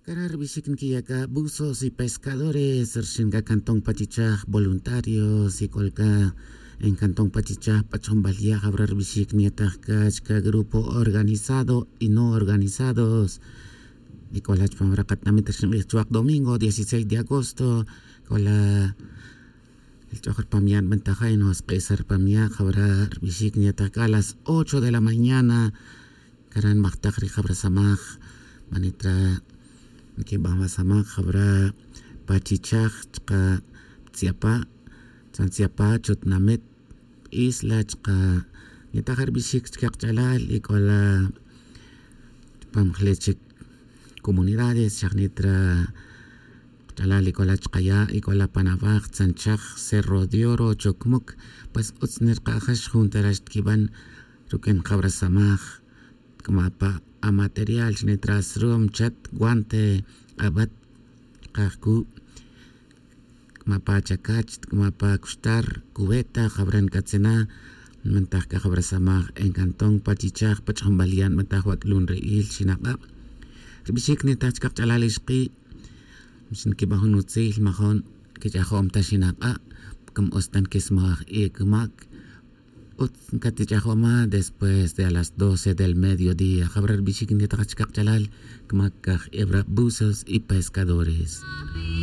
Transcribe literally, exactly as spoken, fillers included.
Cara rbixic nquiya' c'a buzos y pescadores rxin c'a cantón pachichaj voluntarios y c'ol c'a en cantón pachichaj p'ach'onbal ya' jawra rbixic nyetaj c'a chca grupo organizado y no organizados. Y c'ola chpam ra katamit rxin k'ij chuwak domingo dieciséis de agosto c'ola el ch'oj rpam ya' nbentaja y no sk'isa rpam ya' jawra rbixic nyetaj c'a las ocho de la mañana. Cara nmajtaj ri jawra samaj manitra nquiban wa samaj jawra pachichaj chka tziapa' tzan tziapa' chutnamit isla chka nyetaj rbixic chka kach'alal y c'ola chpam jle chic comunidades xajnitra kach'alal y c'ola chkaya' y c'ola pan awaj tzanchaj cerro de oro chocmuc. Pues utz nirka'jax jun tara xtquiban ruq'uin jawra samaj. Tk'ama' pa amaterial xnitra srum chat guante k'abat kajcu' tk'ama' pa chacach tk'ama' pa cuxtar cubeta jawra nc'atzina. Nmantaj c'a jawra samaj en cantón pachichaj pach'onbal ya' nmantaj wac'lun ri'il xinak'a' rbixic nitaj chca kach'alal ixki' xniquiban jun utzil majon quich'ajom ta xinak'a' cam utz ta nquismaj e cumac utz catich'ajoma después de a las doce del mediodía jawra rbixic nitaj chca kach'alal cumac caj ebra buzos y pescadores.